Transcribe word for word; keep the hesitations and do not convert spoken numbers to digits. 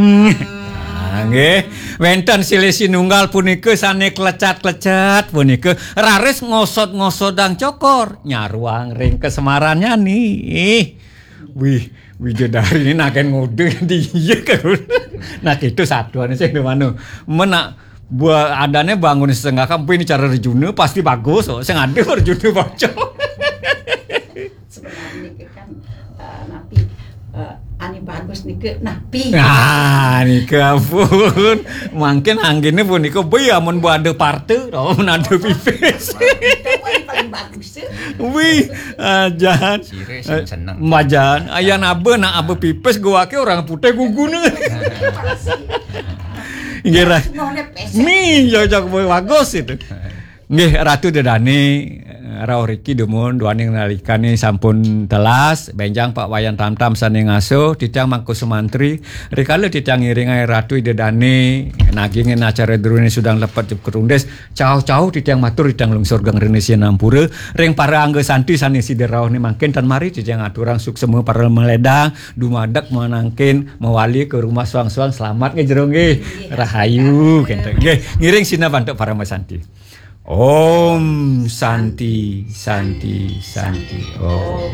Nah, nggih, wénten silih sinunggal punika sané klecat-klecat punika raris ngosod-ngosodang cokor nyaruang ring kasemarannya nih. Wih, widodari ini naken ngode dia kan. Nah, itu satuan sing manu. Menak buah adane bangun setengah kampung ini cara Arjuna pasti bagus. Oh, sing ada Arjuna bocor. Sebenarnya kan eh, napi eh, ane bagus niki napi. Ah, nika pun. Mungkin anggene punika bi amun bu ada parte, oh, mun ada pipis. Itu paling, paling bagus tuh. Wih, ajan. Sire sing seneng. Majan, ayan abe nak abe pipis gua ke orang putih gugune. Nggih, Ra. Noleh pesek. Nih, cocok bagus itu. Nggih, Ratu Dedane, rauh riki dumun duaning nalikane sampun telas, benjang Pak Wayan Tamtam sane ngaso, titiang Mangku Sumantri, rikala titiang ngiringai Ratu Ida Dane, nagingin acara drone sudang lepet jep kerundis, cauh-cauh titiang matur titiang lungsur geng rene sinampura, ring para angga santi sane sida rauh ni mangkin tan mari titiang aturang suksema para meledang, dumadek manangkin, mawali ke rumah suang-suang, selamat nggih jero nggih, rahayu, kenten. Nggih, ngiring sinah bantuk para masanti. Om Santi, Santi, Santi. Om.